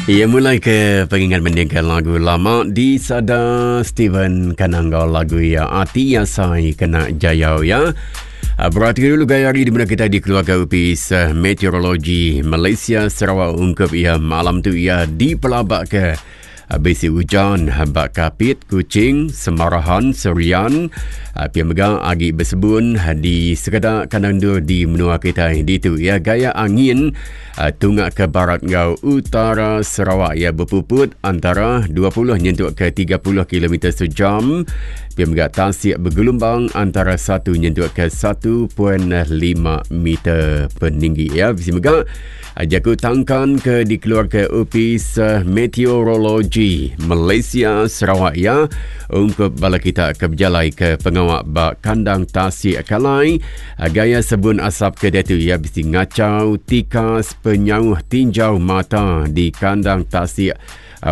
Ia mulai ke pengingat mendingkan lagu lama di sada Steven Kanangga lagu ia Ati Asai Kena Jayau ya. Ah, berarti dulu gaya hari di mana kita di keluarga Upis eh, Meteorologi Malaysia Sarawak ungkup ia malam tu ia dipelabak ke ah, bisi ujan ba Kapit, Kuching, Semarahan, Serian, ah, pia mega agi besebun di sekeda kandang endur di menua kita ditu ya gaya angin Tunga ke barat enggau utara Sarawak iya bepuput antara 20 nyentuk ke 30 kilometer sejam. Pia mega tasik begelumbang antara 1 nyentuk ke 1.5 meter peninggi ya. Bisi mega jaku tangkan ke dikeluarka Opis Meteorologi Malaysia Sarawak ya ungkup bala kita ke bejalai ke pengawa ba kandang tasik kalai Gaya sebun asap ke diatu iya bisi ngachau tikas penyauh tinjau mata di kandang tasik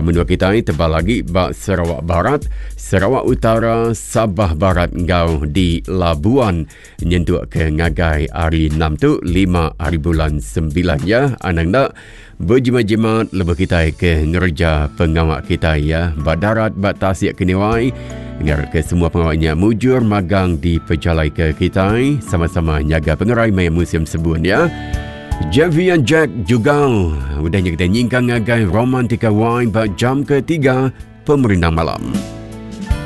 menua kitai tebal agi ba Sarawak Barat, Sarawak Utara, Sabah Barat enggau di Labuan nyentuk ke ngagai hari enam tu lima hari bulan sembilan ya. Anang enda bejimat-jimat lebuh kitai ke ngereja pengawa kitai ya ba darat ba tasik keniwai ngarap ke semua pengawa nya mujur magang dipejalaika kitai sama-sama nyaga pengerai maya musim sebun ya. Javian Jack Jugal udah nya kita nyingkang ngagai Romantika Wine ba jam ketiga pemerindang malam.